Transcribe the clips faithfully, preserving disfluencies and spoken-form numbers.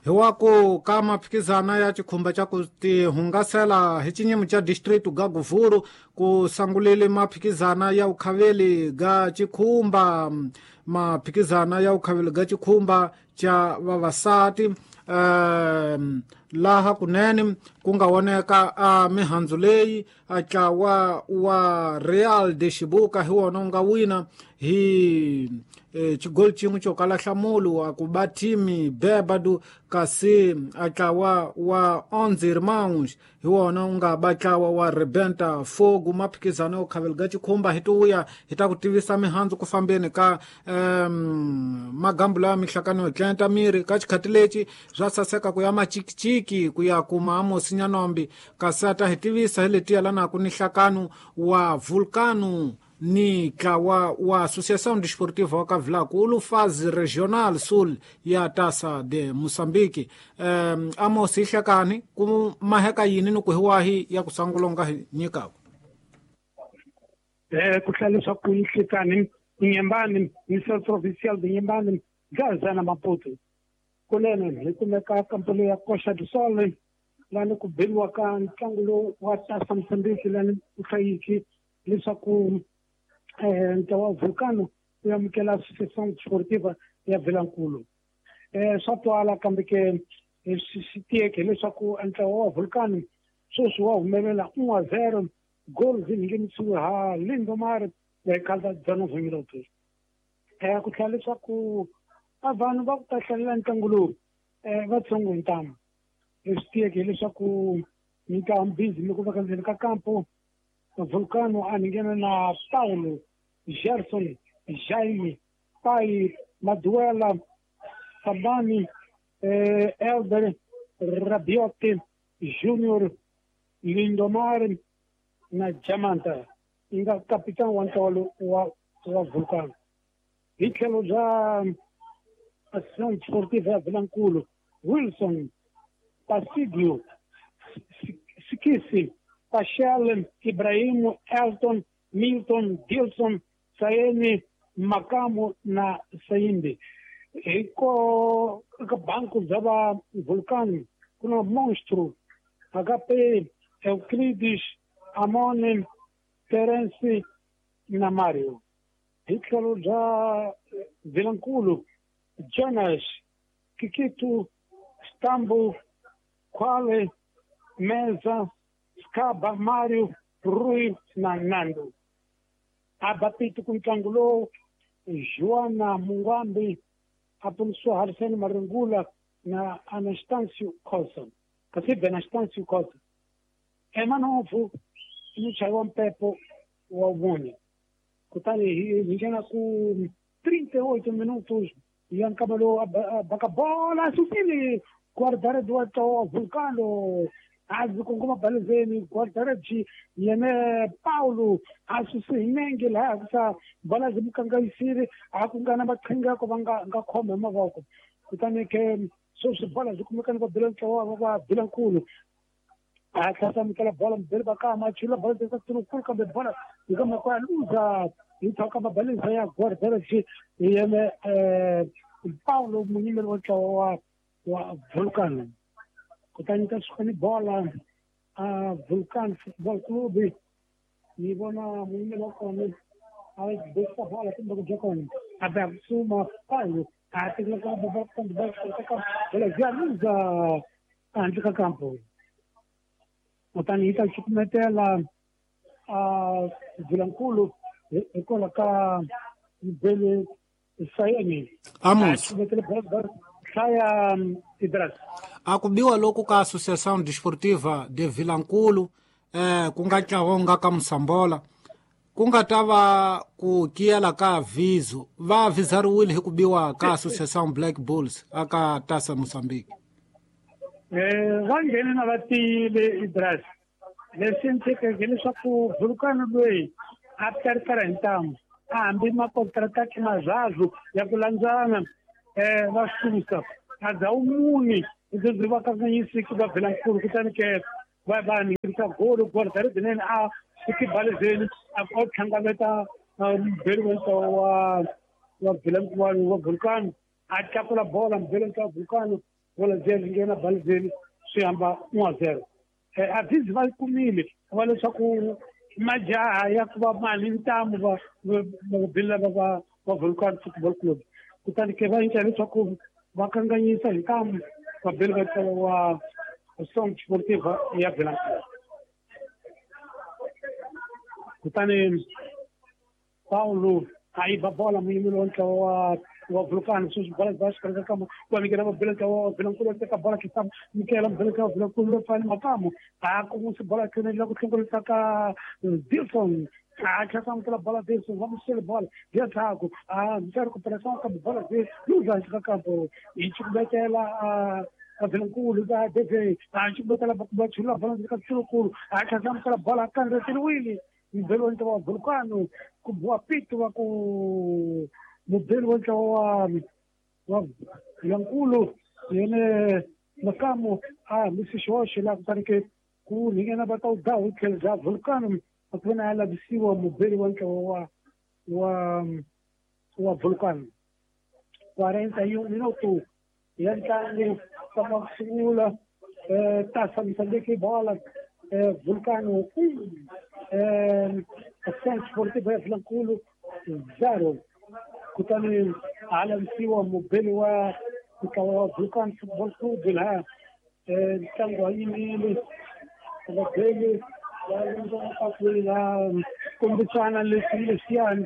Hi wa ku ka maphikizana ya chikhumba cha ku tihungasela hi xinyimo cha district ga Guvuru ku sangulile maphikizana ya ukhaveli ga chikhumba, maphikizana ya ukhaveli ga chikhumba cha vavasati um laha kunene ku nga voneka a mihandzu leyi a ntlawa wa Real de Shibuka hi wona wu nga wina hi e, xigoli xin'we xo kala nhlamulo a ku ba team Bebado, kasi a ntlawa wa Onze Irmãos hi wona wu nga ba ntlawa wa Rebenta Fogo. Maphikizano yo khavela ga chikhumba hi tiwuya hi ta ku tivisa mihandzu ku fambeni ka um, magambu lawa mihlakano yo tlenta miri ka xikhati lexi swa saseka ku ya machikichiki ku ya kuma Amosi Nyanombi, kasi a ta hi tivisa hi leti yelanaku ni nhlakano wa Vulcano ni ntlawa wa Associação Desportiva wa Kavilaku Fazi Regional Sul ya Taça de Moçambique. Um, Amos, hi hlekani ku maheka yini ni ku hi wahi ya ku sangulonga hi nyikaku? Eh, ku hlaya leswaku yi hlekani Inhambane, Ministério Provincial de Inhambane, Gaza na Maputo. Kunene hi kumeka kampani ya Costa do Sol lani ku beriwa ka ntlangu lowu wa Taça Moçambique lani ku hlayiki leswaku eh, ntlawa wa Vulcano wu amukela Associação Desportiva ya Vilankulu. Eh, swa twala kambe ke swi swi tiyeke hileswaku ntlawa wa Vulcano sweswi wa humelela un a zero goal zi nghenisiwe ha Lindomar eka dezenove minutos. Eh, ku tlhela leswaku a vanhu va ku ta hlalela ntlangu lowu eh, va tsongo hi ntamu. Leswi tiyeke hileswaku mintlawa busy mi ku va ka ndzeni ka kampo Vulcano a nghena na Paulo, Gerson, Jaime, Pai, Maduela, Sabani, eh, Elder, Rabiotti, Junior, Lindomar na Jamanta yi nga capitão wa ntlawa lowu wa wa Vulcano. Hi tlhelo bya Associação Desportiva ya Vilankulu, Wilson, Passidio, Sikisi, Pachel, Ibrahim, Elton, Milton, Dilson, Saeni, Makamo na Saimbi. Hi ko ka banco bya va Vulcano ku na Monstro, H P, Euclides, Amone, Terence na Mario. Hi tlhelo bya Vilankulu, Jonas, Kikito, Stambo, Quale, Meza, Scaba, Mário, Rui na Nando. A bapito ku ntlangu lowu Joana Mungwambi, Aponso Arsene Marungula na Anastácio Costa. Kasi Benastancio Costa. Emanovo i muchayi wa mpepo wa vone. Kutani hi nghena ku trinta e oito minutos ya nkama lowu a baka bola susile guarda-redes wa ntlawa wa Vulcano a ndzi kongoma balezeni guarda-redes yene Paulo a suse hi nenge laha ku bola byi mu kanganyisile a ku nga na maqhinga ku va nga nga khoma hi mavoko. Kutani ke sweswi bola byi kumeka ni va bela ntlawa wa va Vilankulu. A tlhela amukela bola mubeli va kama a chula bola teka nkulu kambe bola hi ka mhaka ya luza hi tshaka mabaleza ya guarda-redes yene eh, Paulo munyimeri wa ntlawa wa wa Vulcano. Kutani ta suka ni bola a Vulcano Football Club ni vona munyimeri wa kona a besa bola kumbe ku bya kona a ba suma Paulo a tekela ka bola kambe bola ka bola ya luza handle ka kampo. Kutani yi ta cukumetela a Vilankulu hikwalaho ka Bele Sayeni. Amos, hlaya Idras. A ku biwa loku ka Associação Desportiva de Vilankulu eh, ku nga ntlawa wu nga ka Musambola ku nga ta va ku kiyela ka aviso va avizariwile hi ku biwa ka Associação Black Bulls aka Taça Moçambique. Eh, va nghene na va tiyile Idras. Leswi endlekeke hileswaku Vulcano loyi a karikara hi ntamu a hambi makontrataxi mazazu ya ku landzana eh, va susa a dzawu muni leswi va kanganyisiki va Vilankulu. Kutani ke va va nghenisa golo guarda-redes nene a fiki balezeni a o tlhangaveta mubeli wa ntlawa wa wa Vilankulu wa Vulcano a tlakula bola mubeli wa ntlawa wa Vulcano Bola zeli nghena balzeli swi hamba one zero. Aziz va kumile va leswaku majaha ya ku va mali ntamu va vabeli lava va va Vulcan Football Club. Kutani ke va endla leswaku va kanganyisa hi ntamu vabeli va ntlawa wa Song Sportiva ya Vilankulu. Kutani Paulo a yiba bola muyimeri wa ntlawa wa wa Vulcan sweswi bola bya xikarhi ka kama wa nyikela vabeli ntlawa wa Vilankulu wa teka bola kisa nyikela mubeli ntlawa wa Vilankulu lo fani makamu a kumusi bola tlhela ku hlongorisa ka Dilson a tlhela amukela bola Dilson va musele bola ya ndzhaku a ndzi ku presa ka bola ze luza ka kampo hi chukubetela a Vilankulu va Deve a chukubetela va chula bola ka Tsinkulu a tlhela amukela bola kandzeriwile mubeli wa ntlawa wa Vulcano ku biwa pito wa ku mubeli wa ntlawa wa wa Vilankulu yene makamu a misi xihoxo laha kutani ke ku nghena va ta u daha hi tlhelo bya Vulcano a ku vona a lavisiwa mubeli wa ntlawa wa wa wa Vulcano. Quarenta e um minuto ya ntlangu kama ku sungula Taça Moçambique bola Vulcano um Ação Esportiva ya Vilankulu zero. Kutani a lavisiwa mubeli wa ntlawa wa Vulcan Football Club laha ntlangu wa yimile vabeli va landza la kombisana leswi leswiyani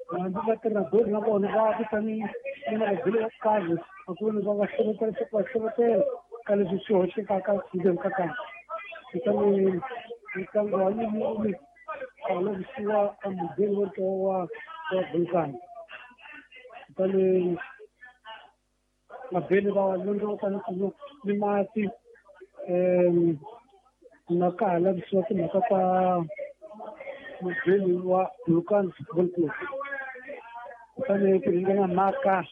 hambi va tirha na vona va vitani na vabeli va karhi a ku vona va va hlohletela leswaku va hlohletela ka leswi swi hoxekaka ndzeni ka kampa. Kutani ntlangu wa yimile a lavisiwa mubeli wa ntlawa wa wa Vulcan. Kutani vabeli va londzoka ni ni mati na ka ha lavisiwa timhaka ta mubeli wa Vulcan Football Club. Kutani ku ringana mhaka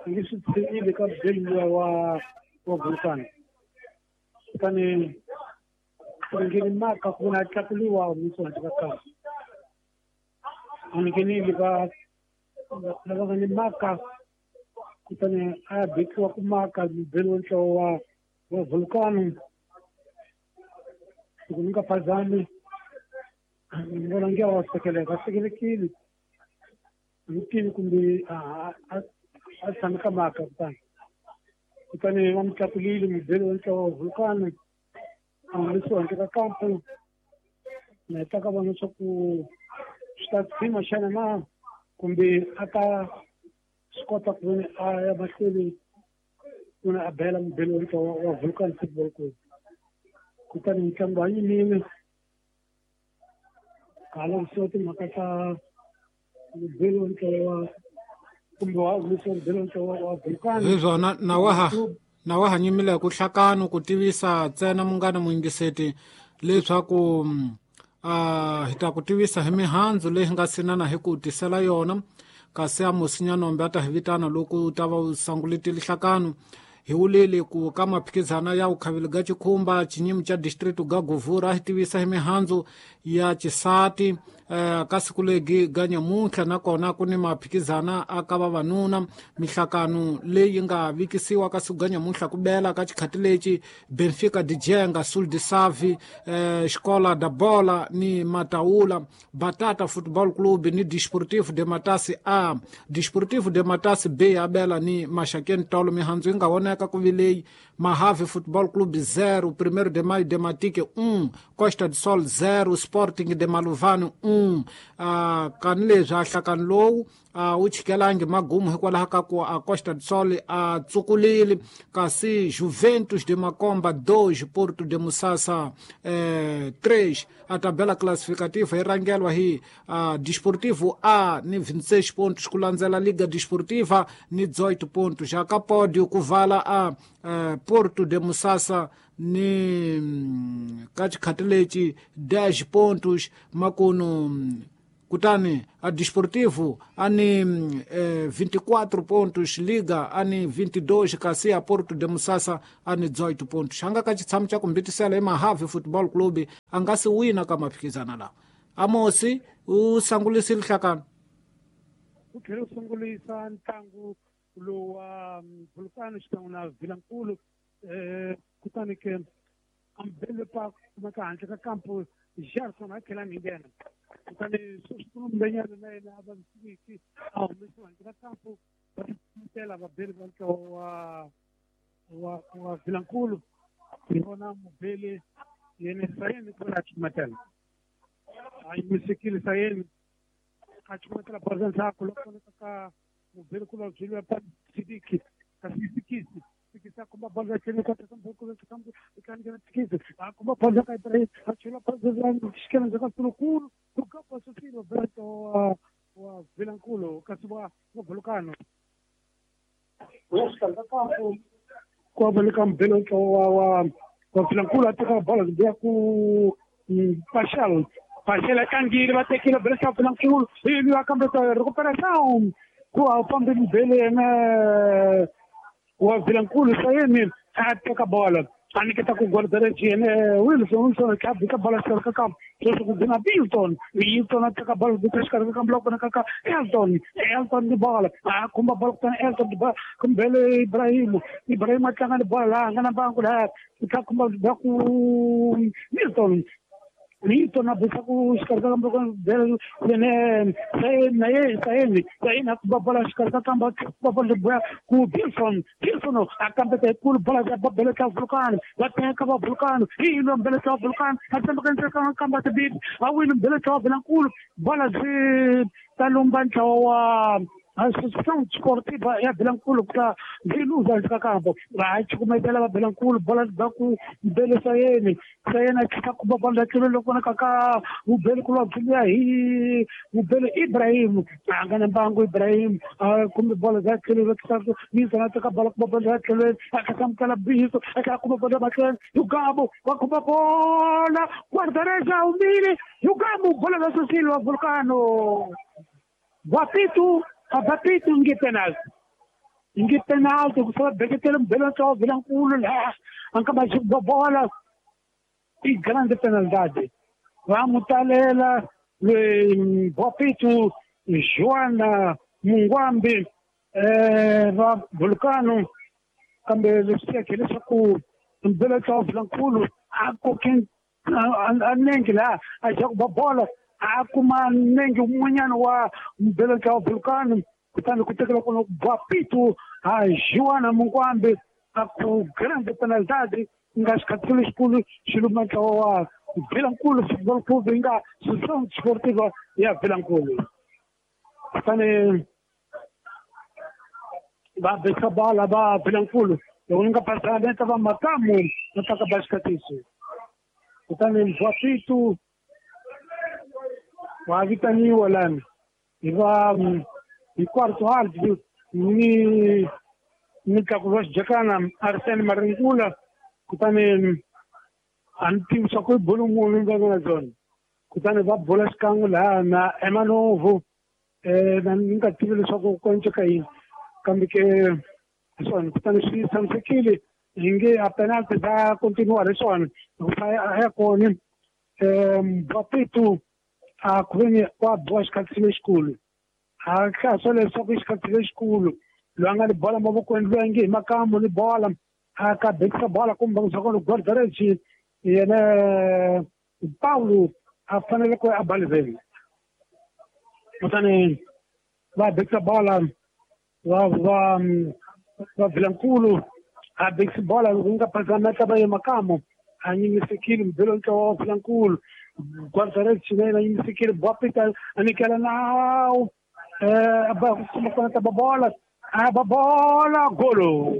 nge swi tshemile ka mubeli luya wa wa Vulcan. Kutani ku ringeni mhaka ku vona a tlakuliwa misi handle ka kampa. A nghenile va lava nga ni mhaka kutani a bekiwa ku maka mubeli wa ntlawa wa wa Vulcano. Loko ni nga phazami ni vona nge wa sekeleka a sekelekile ni tivi kumbe a a tshame ka mhaka kutani kutani va mu tlakulile mubeli wa ntlawa wa Vulcano a humesiwa handle ka kampo na heta ka vona leswaku swi ta tshima xana na kumbe a ta swi kota ku vona a ya mahlweni ku na a bela mubeli wa ntlawa wa Vulcan Football Club. Kutani ntlangu wa yimile ka lavisiwa timhaka ta mubeli wa ntlawa kumbe wa humesiwa mubeli wa ntlawa wa Vulcan. Hi swona na wa ha na wa ha nyimile ku hlakano ku tivisa ntsena munghana muyingiseti leswaku a hi ta ku tivisa hi mihandzu leyi nga sinana hi ku tisela yona kasi a Musinya-Nombe a ta hi vitana loko u ta va u sanguletile hlakano. Hi wulile ku ka maphikizana ya vukhaveli ga Chikhumba xinyimi xa district ga Govura a hi tivisa hi mihandzu ya xisati eh, ka siku legi ga nyamuntlha nakona ku ni maphikizana a ka vavanuna mihlakano leyi nga vikisiwa ka siku ga nyamuntlha ku bela ka xikhati lexi Benfica de Jenga Sul de Savi eh, Escola da Bola ni Mataula Batata Football Club ni Desportivo de Matasi A Desportivo de Matasi B a bela ni Maxakeni Tolo mihandzu yi nga voneka ku vileyi Mahave Football Club zero Primeiro de Maio de Matique um Costa do Sol zero Sporting de Maluvani um ah, kani leswi a hlakani lowu a wu chikelangi magumu hikwalaho ka ku a Costa do Sol a tsukulile kasi Juventus de Macomba dois Porto de Musasa eh, três a tabela classificativa yi rhangelwa hi uh, Desportivo A ni vinte e seis pontos ku landzela Liga Desportiva ni dezoito pontos já ka pódio ku vala a uh, Porto de Musasa ni ka xikhati lexi dez pontos makunu kutani a Desportivo ani eh, vinte e quatro pontos Liga ani vinte e dois kasi a Porto de Musasa ani dezoito pontos anga ka xitshamo xa ku mbitisela i Mahave Football Club a nga si wina ka maphikizana lawa Amosi u sangulisile hlakano u tlhela u sungulisa ntlangu Lowa Vulcano xikan'we na Vilankulu um kutani ke ambele pa kumeka handle ka kampo Gerson a tlhela a nghena kutani sweswi ku na mbenyana na yena a vavisekiki a humesiwa handle ka kampo va tela vabeli va ntlawa wa wa wa Vilankulu hi vona mubeli yena Sayeni ku a chumatela a yimisekile Sayeni a chumatela bola ndzhaku loko vonaka ka mubeli ku vabyeliwa pa Sidiki kasi Sikisi Sikisi a komba bola tlhelo ka teka mubeli ku kambe tlangela Sikisi a komba bola ka Ibrahim a chela bola xikela ndzhaku ka Sulukulu ku kapa Sosilo Berto wa wa Vilankulu kasi wa wa Vulcano exikarhi ka kampo ku va le ka mubeli wa wa wa Vilankulu a teka bola ya ku Pachel Pachel a tlangile va tekile bela xa Vilankulu ivi va kambe recuperação ku a fambe mubeli yena wa Vilankulu Sayeni a teka bola a nyiketa ku guarda-redes yena Wilson Wilson a bika bola xikarhi ka kampo sweswi ku nghena Milton Milton a teka bola bika xikarhi ka kampo loko vonaka ka Elton Elton ni bola a khumba bola kutani Elton ni bola kumbele Ibrahim Ibrahim a tlanga ni bola laha a nga na mbangu laha ku khumba ba ku Milton Milton a bisa ku xikarhi ka kampo loko yena na ye Sayeni Sayeni a kumba bola xikarhi ka kampo a kumba bola boya ku Wilson Wilson a kambeta hikulu bola ya babele ka Vulcano va teka va Vulcano hi yilo mbele ka Vulcano a tsembeka ndzeni ka kamba tibili a wini mbele ka Vilankulu bola byi ta lumba ntlawa wa Associação Desportiva ya Vilankulu ku ta byi luza ka kampo va cukumetela va Vilankulu bola ba ku mbele Sayeni Sayeni a tlhela kumba bola tlhelo loko vonaka ka mubeli ku lwa hi mubeli Ibrahim a nga na mbangu Ibrahim a kumbe bola za tlhelo va tlhela Milton a teka bola kumba bola za tlhelo a tlhela amukela Biso a tlhela kumba bola matlhelo Yugabo va kumba bola guarda-redes a humile Yugabo bola za Sosilo wa Vulcano Guapito Abapito nge penalty nge penalty ku sala beketele mbele wa Vilankulu laha a nga ba bola i grande penalidade va mutalela le Guapito Joana Mungwambi eh va Vulcano kambe leswi yake leswaku mbele wa Vilankulu a koke a nenge laha a ja ku ba bola a kuma nenge wun'wanyana wa mbele wa Vulcano kutani ku tekela kona Guapito a Joana Mungwambi a ku grande penalidade nga xikhathelo lexikulu xi luma ntlawa wa Vilankulu Football Club yi nga Associação Desportiva ya Vilankulu kutani va beka bola va Vilankulu loko ni nga pasana va Makamu va taka ba xikatiso kutani Guapito wa vitaniwa lani hi va hi quarto árbitro ni ni tlakulo wa xijakana Arsene Maringula kutani a ni tivi swa ku i bolo munhu va nga na byona kutani va bola xikan'we laha na Emanovo um na ni nga tivi leswaku ku enceka yini kambe ke hi swona kutani swi tshamisekile hi nge a penalty ta continua leswiwani hikuva a ya kona um Guapito a ku veni wa biwa xikhathisi lexikulu a hlaya leswaku i xikhathisi lexikulu loyi a nga ni bola mavokweni loyi a nge hi Makamu ni bola a ka bekisa bola kumbe swa kona guarda-redes yena Paulo a fanele ku a baliveni kutani va bekisa bola va va va Vilankulu a bekisi bola loko nga phazama ta va ye Makamu a nyimisekile mbelo ntlawa wa Vilankulu guarda-redes na yena yimisekile Guapito a nyikela nawu eh ba kuma kona ta bola a ba bola golo